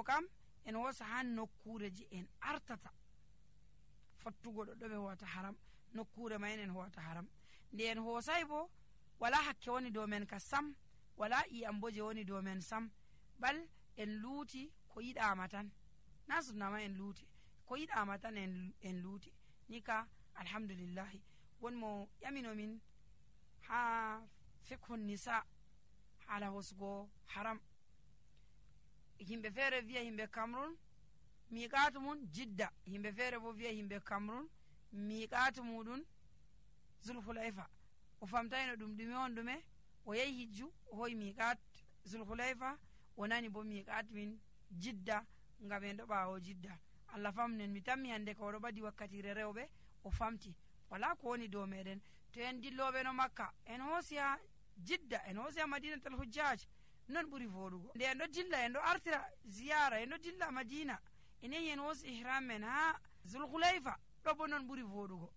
kam en hosa ha nokkureji en artata fattugo ɗo ɓe howata haram, nokkure mayen en howata haram. nde en hosai bo wala hakke woni dow men ka sam, wala iyam bo je woni dow men sam, bal en luuti ko yiɗama tan, na sunnama en luuti ko yiɗama tan en luuti ni ka alhamdulillahi. won mo ƴaminomin ha fikhun nisa hala hosugo haram. himɓe feere wiya himɓe Cameroon miqatu mum Jidda, himɓe feere bo wiya himɓe Cameroon miqatu muɗum Zulhulayfa. o famtayno ɗum ɗume on ɗume, o yehi hijju o hoyi miqat Zulhulayfa, o nani bo miqat min Jidda ngam en ɗo ɓawo Jidda. Allah famnen, mi tammi hande ka oɗo ɓadi wakkatire rewɓe o famti, wala ko woni dow meɗen. to en dilloɓe no Makka en hoosi ha Jidda, en hoosi ha Madinatul Hujjaj, non ɓuri voɗugo. nde en ɗo dilla en ɗo artira ziyara, en ɗo dilla Madina, en yehi en hoosi ihram men ha Zulhulayfa, ɗo bo non ɓuri voɗugo,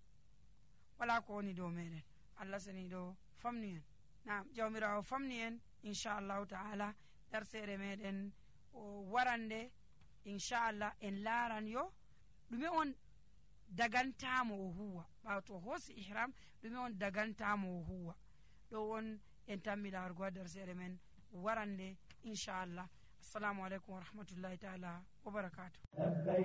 wala ko woni dow meɗen. Allah sani ɗo famni en. Naam, jawmirawo famni en inchallahu ta'ala. darsere meɗen o warande inchallah en laran yo ɗume on dagantamo o huwa ɓawo to hoosi ihram, ɗume on dagantamo o huwa. ɗo won en tammi larugo ha darsere men warande inchallah. assalamu aleykum wa rahmatullahi taala wa barakatuh.